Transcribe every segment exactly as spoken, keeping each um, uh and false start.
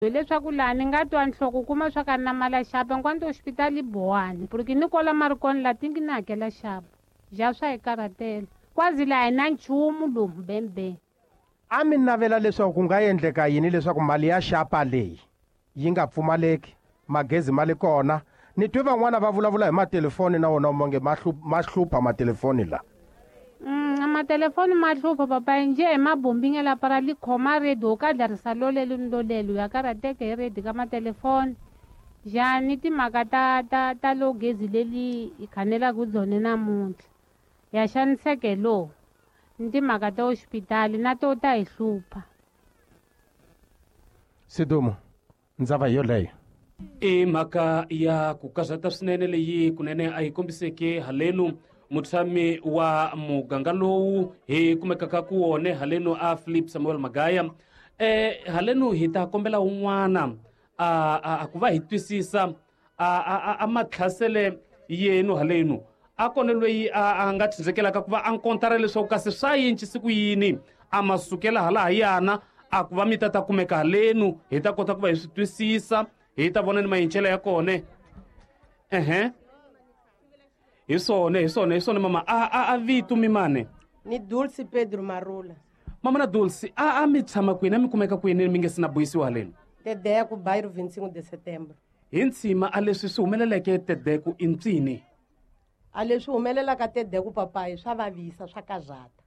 Hileswaku laha ni nga twa nhloko kuma swa ka na mali ya xapa nkwanto hospitali bowani porque ni kola mari kona la tingi ni hakela xapa ja swa hi karhatela kwazi laha hi na nchumu lomu bembe. A mi navela leswaku ku nga endleka yini leswaku mali ya xapa leyi yi nga pfumaleki, magezi ma le kona? Ni twe van'wana va vulavula hi matelefoni na wona monge ma ma hlupha matelefoni la. Mm, a matelefoni ma hlupha papa nje hi mabombingela para li khoma redi ka dlarisa lolelo ni lolelo ya karhateka hi redi ka matelefoni. Njhani timhaka ta ta ta lo gezi leli hi khanelaka byona namuntlha ya xaniseke lo ni timhaka ta hoxipitali na to ta hi hlupha. Sidumo, ndzava yoleyo i mhaka ya ku karhata swinene leyi kunene a yi kombiseke halenu mutshami wa muganga lowu hi kumekaka ku wone halenu a Philip Samuel Magaya. Eh halenu hi ta kombela un'wana a a ku va hi twisisa a a a matlhasele yenu halenu a kona loyi a nga tshindzekelaka ku va a nkontara leswaku kasi swa yincisi ku yini a masukela hala yana a ku va mi ta ta kumeka halenu hi ta kota ku va hi swi twisisa hi ta vona ni mayincelo ya kona. Ehe, hi swona hi swona hi swona mama. A a a vito mi mane ni Dulce Pedro Marula. Mama na Dulce, a a mi tshama kwini, a mi kumeka kwini mi nge si na buyisiwa halenu? Tedeku, bairro vinte e cinco de setembro. Hi ntshima a leswi swi humeleleke Tedeku i ncini? A leswi humelelaka Tedeku papayi swa vavisa swa karhata.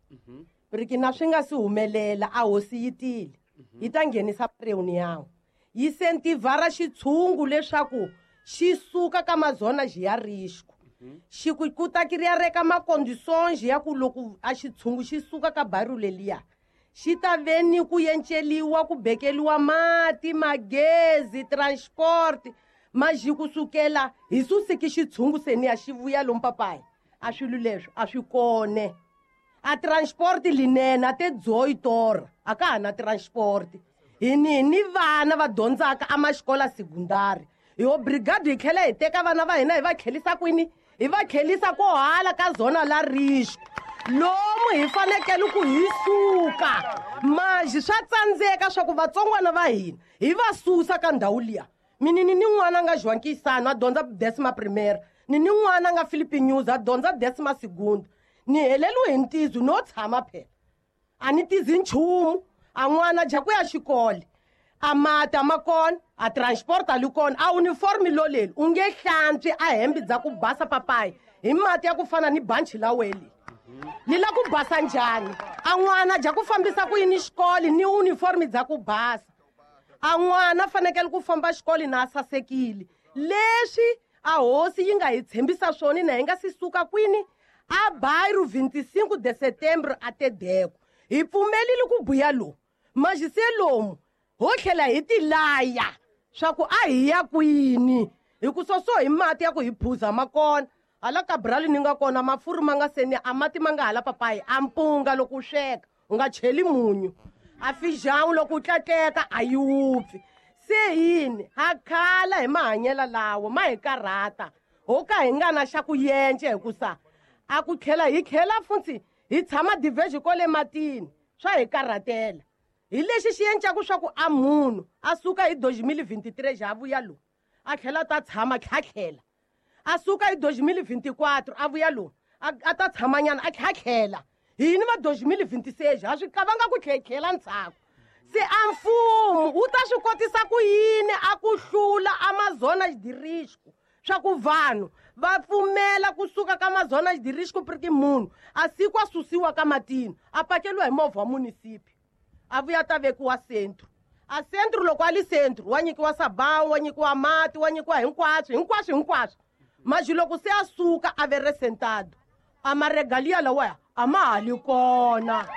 Porque na swi nga si humelela a hosi yi tile yi ta nghenisa reunião yi sentivara xitshungu leswaku xi suka ka mazona xi ya risco. Xi ku ku ta kiriya reka macondições ya ku loko a xitshungu xi suka ka bairro leliya xi ta veni ku yenceliwa ku bekeliwa mati magezi transport maji kusukela hi susiki xitshungu seni ya xi vuya lomu papayi a swilo leswi a swi kone. A transport linene a te dzoyi tora a ka ha na transport. Hi ni ni vana va dyondzaka a maxikola secondary hi obrigado hi tlhela hi teka vana va hina hi va tlhelisa kwini, hi va tlhelisa ko hala ka zona la risco lomu hi fanekele ku hi suka maji swa tsandzeka swa ku vatsongwana va hina hi va susa ka ndhawu liya. Mina ni ni n'wana nga João Kisano a dyondza décima primeira, ni ni n'wana nga Philippe News a dyondza décima segunda. Ni heleliwe hi ntizo no tshama phela a ni tizi nchumu a n'wana dya ku ya xikolo a mati a ma kona a transport a li kona a uniform loleli u nge hlantswi a hembe dza ku basa papayi hi mati ya ku fana ni banchi la weli li la ku basa njhani a n'wana dya ku fambisa ku yini xikolo ni uniform dza ku basa a n'wana fanekele ku famba xikolo na a sasekile leswi a hosi yi nga hi tshembisa swona na hi nga si suka kwini a bairro vinte e cinco de setembro a Tedeku hi pfumelile ku buya lomu maji se lomu ho tlhela hi tilaya swa ku a hi ya kwini hi ku soso hi mati ya ku hi phuza ma kona hala Cabral ni nga kona mafurhu ma nga seni a mati ma nga hala papayi a mpunga loko u sweka u nga cheli munyu a feijão loko u tlatleka a yi wupfi se yini ha khala hi mahanyelo lawo ma hi karhata ho ka hi nga na xa ku yence hikusa a ku tlhela hi tlhela futhi hi tshama diverge kwale matini swa hi karhatela hi lexi xi yencaku swa ku a munhu a suka hi dois mil vinte e três a vuya lowu a tlhela ta tshama tlhatlhela a suka hi dois mil vinte e quatro a vuya lowu a ta tshamanyana a tlhatlhela hini va dois mil vinte e seis ha swi kavanga ku tlhetlhela ndzhaku se a mfumo wu ta swi kotisa ku yini a ku hlula Amazonas de risco swa ku vanhu va pfumela kusuka ka Amazonas de risco porque munhu a siku a susiwa ka matini a pakeliwa hi movha wa munisipi a vuya ta vekiwa centro a centro loko a li centro wa nyikiwa sabão wa nyikiwa mati wa nyikiwa hinkwaswo hinkwaswo hinkwaswo maji loko se a suka a ve resentado a maregalia lawaya a ma ha li kona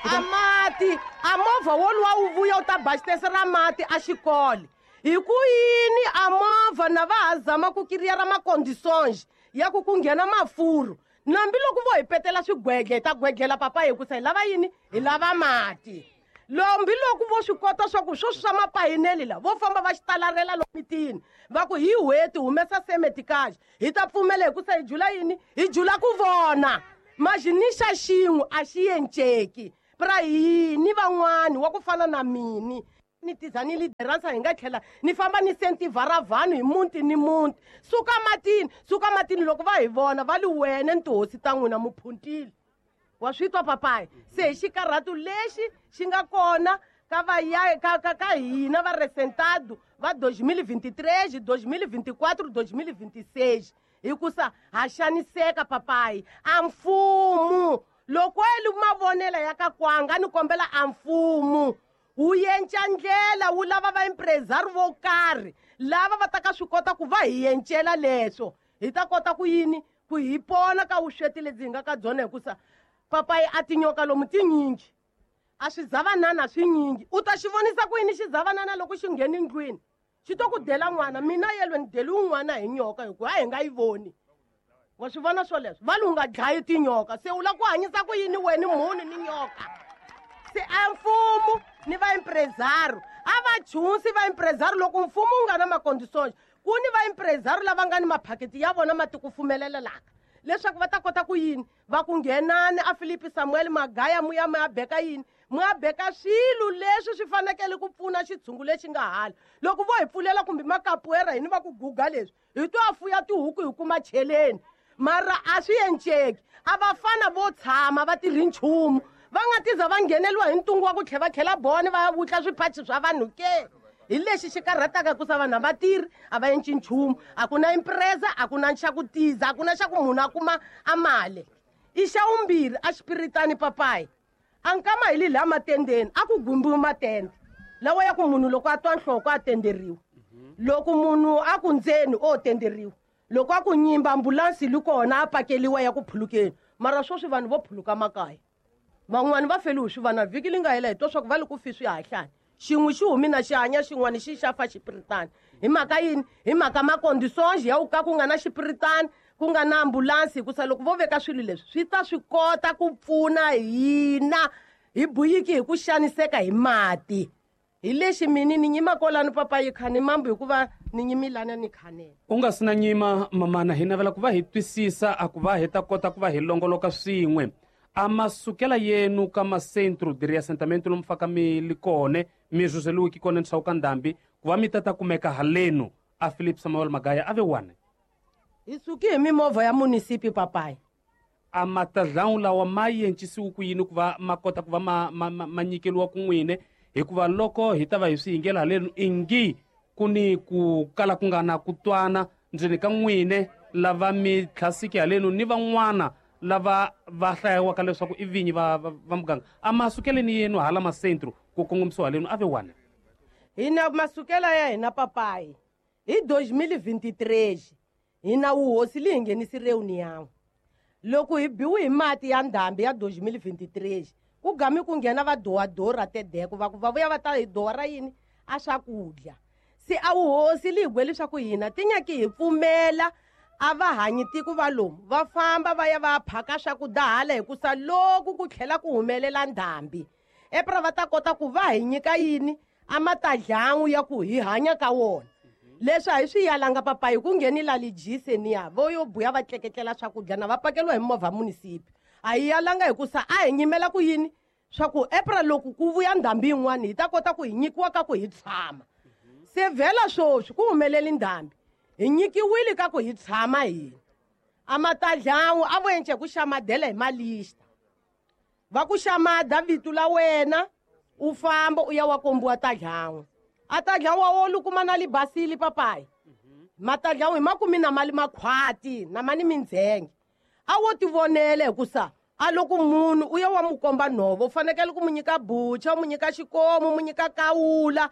a mati a movha woluwa wu vuya wu ta bastese ra mati a xikolo hi ku yini a movha na va ha zama ku kiriya ra macondições ya ku ku nghena mafurhu nambi loko vo hi petela swigwedle hi ta gwedlela papa hi ku sa hi lava yini hi lava mati lombi loko vo swi kota swa ku swo swa mapayineli la vo famba va xitalarela lo mitini va ku hi hweti humesa semetikaji hi ta pfumela hi ku sa hi jula yini hi jula ku vona maji ni xa xin'we a xi yenceki pra yini van'wani wa ku fana na mini Ni tiza ni lideransa hi nga tlhela ni famba ni sentivhara vanhu hi muti ni muti. Suka matini, suka matini loko va hi vona va li wena ni tihosi ta n'wina muphuntile. Wa swi twa papayi? Se hi xikarhatu lexi xi nga kona ka va ya ka ka ka hina va resentado va dois mil e vinte e três, dois mil e vinte e quatro, dois mil e vinte e seis. Hikusa ha xaniseka papayi. A mfumo loko eli mavonela ya ka kwanga ni kombela a mfumo wu yenca ndlela wu lava va empresario vo karhi lava va ta ka swi kota ku va hi yencela leswo hi ta kota ku yini ku hi pona ka vusweti lebyi hi nga ka byona hikusa papayi a tinyoka lomu tinyingi a swizavanana swinyingi u ta xi vonisa ku yini xizavanana loko xi ngheni ndlwini xi to ku dela n'wana mina yelwe ni deli un'wana hi nyoka hikuva a hi nga yi voni wa swi vona swoleswo va li u nga dlayi tinyoka se u lava ku hanyisa ku yini wena munhu ni nyoka se a mfumo ni va empresario a va chunsi va empresario loko mfumo wu nga na maconditions ku ni va empresario lava nga ni maphaketi ya vona ma tikufumelelaka leswaku va ta kota ku yini va ku nghenani a Philip Samuel Magaya muya mu ya beka yini mu ya beka swilo leswi swi fanekele ku pfuna xitshungu lexi nga hala loko vo hi pfulela kumbe makapuera hini va ku guga leswi hi to a fuya tihuku hi kuma cheleni mara a swi enceki a vafana vo tshama va tirhi nchumu va nga tiza va ngheneliwa hi ntungu wa ku tlhela va tlhela bone va ya vutla swiphachi swa vanhu ke hi lexi xi karhataka hikusa vanhu a va tirhi a va enci nchumu a ku na impresa a ku na xa ku tiza a ku na xa ku munhu a kuma a mali i xa vumbirhi a xipiritani papayi a nkama hi li laha matendeni a ku gumbiwi matende lawa ya ku munhu loko a twa nhloko a tenderiwa loko munhu a ku ndzeni o tenderiwa loko a ku nyimba ambulansi li kona a pakeliwa ya ku phulukeni mara sweswi vanhu vo phuluka makaya van'wani va feliwe swi vana vhiki li nga hela hi twa swa ku va li ku fi swihahlani xin'we xi humi na xi hanya xin'wana xi xa fa xipiritani hi mhaka yini hi mhaka maconditions ya ku ka ku nga na xipiritani ku nga na ambulansi hikusa loko vo veka swilo leswi swi ta swi kota ku pfuna hina hi buyiki hi ku xaniseka hi mati hi lexi mini ni nyima kwalano papayi khani mambu hikuva ni nyimilana ni khanela u nga si na nyima mamana hi navela ku va hi twisisa a ku va hi ta kota ku va hi longoloka swin'we a masukela yenu ka macentro de reassentamento lomu faka mi li kone mi zuzeliwiki kone ntshawu ka ndhambi ku va mi ta ta kumeka halenu a Philip Samuel Magaya a ve wane hi suki hi mimovha ya munisipi papayi a matadlawu lawa ma yencisiwi ku yini ku va ma kota ku va ma, ma, ma, ma nyikeliwa kun'wine hikuva loko hi ta va hi swi yingela halenu ingi ku ni ku kala ku nga na ku twana ndzeni ka n'wine lava mi tlhasiki halenu ni van'wana lava va hlayiwaka leswaku i vinyi va, va, va muganga a masukeleni yenu hala macentro ku kongomisiwa halenu a ve wane hina masukela ya hina papayi hi dois mil e vinte e três hina wuhosi li hi nghenisi reunião loko hi biwi hi mati ya ndhambi ya dois mil e vinte e três ku gami ku nghena va doadora tedeko va ku va vuya va ta hi doa yini a swakudya se a wuhosi li hi gwe leswaku hina ti nyaki hi pfumela a va hanyi tiko va lomu va famba va ya va phaka swakudya hala hikusa loko ku tlhela ku humelela ndhambi epra va ta kota ku va hi nyika yini a matadlangu ya ku hi hanya ka wona leswi a hi swi yalanga papayi ku nghenila lijiseni vo yo buya va tleketlela swakudya na va pakeliwa hi movha munisipi a hi yalanga hikusa a hi nyimela ku yini swa ku epra loko ku vuya ndhambi yin'wana hi ta kota ku hi nyikiwa ka ku hi tshama se vhela swoswi ku humeleli ndhambi hi nyikiwile ka ku hi tshama hina a matadlangu a vo ence ku xamadela hi malista va ku xamada vito la wena u famba u ya wa kombiwa tadlangu a tadlangu wa wo kuma na libasili papayi matadlangu hi makumi na mali makhwati na mani mindzhenge a wo tivonela hikusa a loko munhu u ya wa mu komba nhova u fanekele ku mu nyika bucha u mu nyika xikomu u mu nyika kawula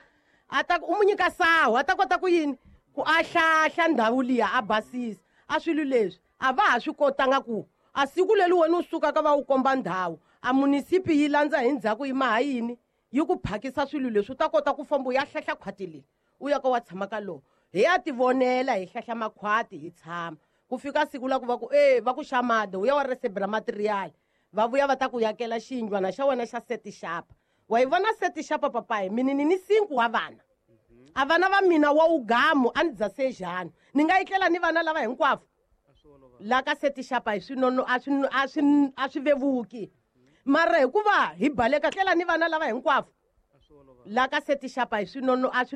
a ta u mu nyika sahu a ta kota ku yini ku a hlahla ndhawu liya a basisa a swilo leswi a va ha swi kotanga ku a siku leri wena u sukaka va wu komba ndhawu a munisipi yi landza hi ndzhaku yi maha yini yi ku phakisa swilo leswi u ta kota ku famba u ya hlahla khwati leri u ya ka wa tshama ka lona hi ya tivonela hi hlahla makhwati hi tshama ku fika siku la ku va ku e va ku xamada u ya wa resebela material va vuya va ta ku yakela xiyindlwana xa wena xa setixapa wa yi vona setixapa papayi mini ni ni cinco wa vana a vana va mina wa ugamu a ni dza sejani ni nga yitlela ni vana lava hinkwavo la ka setixapa hi swinono a swi a swi a swi vevuki mara hikuva hi baleka tlela ni vana lava hinkwavo La ka se tixapa hi swinono a swi